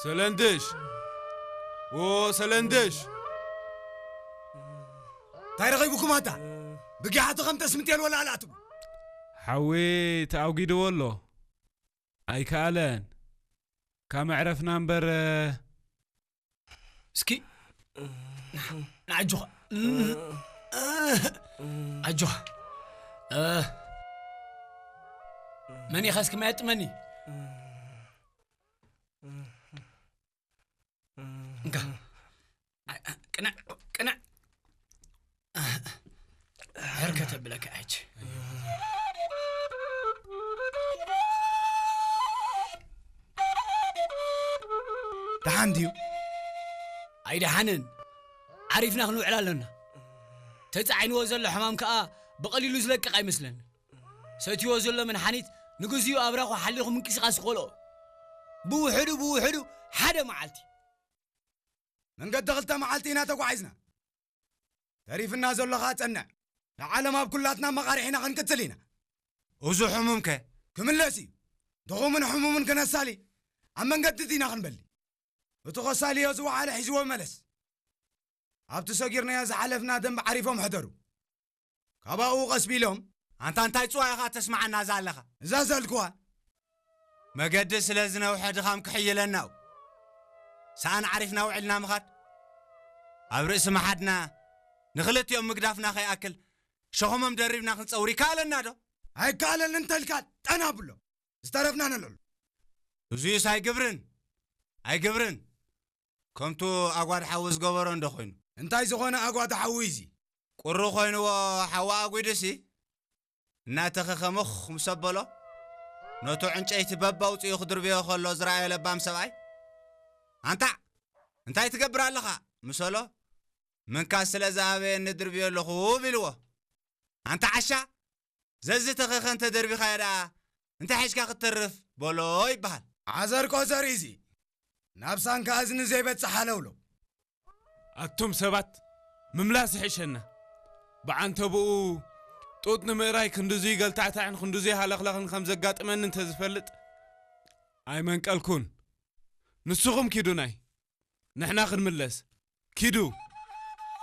ሰለንድሽ! ዎ ሰለንድሽ! እንታይ ረኺብኩም ኣታ? ብጊሓ ተኸምጠስ ምጤል ወላ ኣላ ትብሉ? ሓዊ ተኣጒድዎ ኣሎ። ኣይከኣለን። ካብ መዕረፍና እምበር፣ እስኪ ንዓጅኻ። ኣጆኻ። መን ኢኻ እስኪ ማየጥመኒ? እንካ። ቅናዕ፣ ቅናዕ። ሕርከት ኣብለካ ሕጂ። ደሓን ድዩ? ኣይደሓንን። ዓሪፍና ክንውዕል ኣለና። ተጻዒንዎ ዘሎ ሕማም ከኣ ብቐሊሉ ዝለቅቕ ኣይመስለንን። ሰትይዎ ዘሎ መድሓኒት ንግዚኡ ኣብራኹ ሓሊኹ ምንቅስቓስ ይኸልኦ። ብውሕዱ ብውሕዱ ሓደ መዓልቲ። መንገዲ ክልተ መዓልቲ ኢና ተጓዒዝና። ተሪፍና ዘሎ ኸኣ ጸንዕ። ንዓለም ኣብ ኩላትና መቓርሕ ኢና ክንቅጽል ኢና። እዚ ሕሙም ከ? ክምለስ እዩ። ድኹምን ሕሙምን ክነሳሊ ኣብ መንገዲ ዲና ክንበሊ። እቲ ከሳልዮ ዝወዓለ ሒዝዎ መለስ። ኣብቲ ሰጊርናዮ ዝሓለፍና ደንብ ዓሪፎም ሕደሩ። ካባኡ ቀስ ቢሎም። ኣንታ እንታይ ጽዋ ኢኻ ተስምዓና እዛ ኣለኻ? እዛ ዘልክዋ። መገዲ ስለ ዝነውሐ ድኻም ክሕይለና እዩ። ሰኣን ዓሪፍና ውዒልና ምኻድ። ኣብ ርእሲ መሓድና ንኽልቲኦም ምግዳፍና ከይኣክል ሸኸሞም ደሪብና ክንጸውር ይከኣለና ዶ? ኣይከኣለን እንተልካ ጠና ብሎ። ዝተረፍና ነልዕሉ። እዙይስ ኣይግብርን፣ ኣይግብርን። ከምቱ ኣጓድ ሓዊ ዝገበሮ እንዶ ኮይኑ። እንታይ ዝኾነ ኣጓድ ሓዊ እዚ? ቁሪ ኮይንዎ ሓዊ ኣጒዱሲ፣ እናተኸኸ ምኽ ምስ ኣበሎ፣ ነቱ ዕንጨይቲ በብ ኣውጺኡ ክድርብዮ ከሎ ዝረኣየ ለባም ሰብኣይ፣ "ኣንታ፣ እንታይ ትገብር ኣለኻ?" ምስ በሎ፣ "ምንካስ ስለ ዝኣበየኒ ድርብዮ ኣለኹ" ኢልዎ። "ኣንታ ዓሻ፣ ዘዝተኸኸ እንተ ደርቢኻዮ ደኣ፣ እንታይ ሒዝካ ክትተርፍ?" በሎ ይበሃል። ዓዘር ቆዘር እዚ፣ ናብ ሳንካ እዝኒ ዘይበጽሕ ሃለውለው። ኣቱም ሰባት፣ ምምላስ ይሕሸና። ብዓንተብኡ፣ ጡጥ ንምእራይ ክንድዙይ ገልታዕታዕን ክንድዙይ ሃለኽለኽን ከም ዘጋጥመኒ እንተ ዝፈልጥ፣ ኣይመንቀልኩን። ንስኹም ኪዱ ናይ፣ ንሕና ክንምለስ። ኪዱ።